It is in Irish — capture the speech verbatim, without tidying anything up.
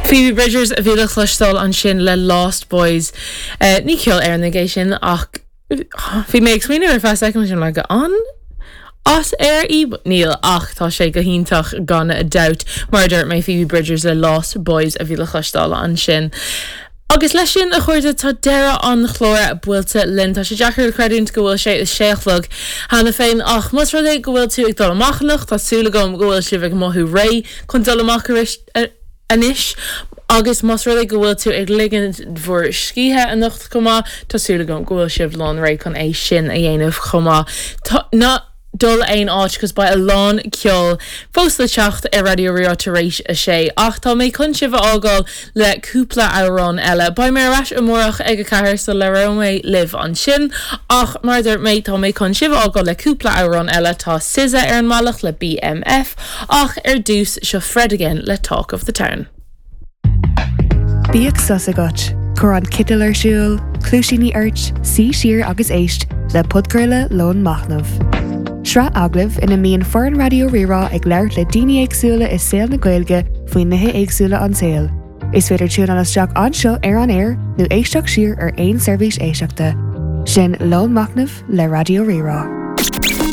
Phoebe Bridgers a bhí le cloisteáil ansin le Lost Boys. Uh, ní ceol Éireannach é sin ach bhí mé ag smaoineamh ar feadh soicind sin le go an as Éirinn í níl ach tá sé go hiontach gan dabht mar dúirt mé Phoebe Bridgers le Lost Boys a bhí le cloisteáil ansin. Agus leis sin a chairde tá deireadh an chláir buailte linn tá sé deacair creidiúint go bhfuil sé a sé a chlog cheana féin ach más rud é go bhfuil tú ag dul amach anocht tá súil agam go bhfuil sibh ag mothú réidh chun dul amach anois. Agus más rud é go bhfuil tú ag ligean bhur scíthe anocht chomh maith tá súil agam go bhfuil sibh lán réidh chun é sin a dhéanamh chomh maith. Ná dul aon áit cos beidh a lán ceol fós le teacht ar Raidió Rí-Rá tar éis a sé ach tá mé chun sibh a fhágáil le cúpla amhrán eile. Beidh mé ar ais amárach ag a ceathair so labhróidh mé libh ansin ach mar dúirt mé tá mé chun sibh a fhágáil le cúpla amhrán eile tá SZA ar an mbealach le BMF ach ar dtús seo Fred again le Talk of the Town. Bíodh sos agat, Cuir an citeal ar siúl, cluaisíní ort, suigh siar agus éist le podchraoladh Lón Machnaimh. Sraith agallamh ina mbíonn foireann Raidió Rí-Rá ag labhairt le daoine éagsúla i saol na Gaeilge faoi nithe éagsúla an tsaoil. Is féidir tiúnáil isteach anseo ar an air nó éisteacht siar ar aon seirbhís éisteachta. Sin Lón Machnaimh le Raidió Rí-Rá.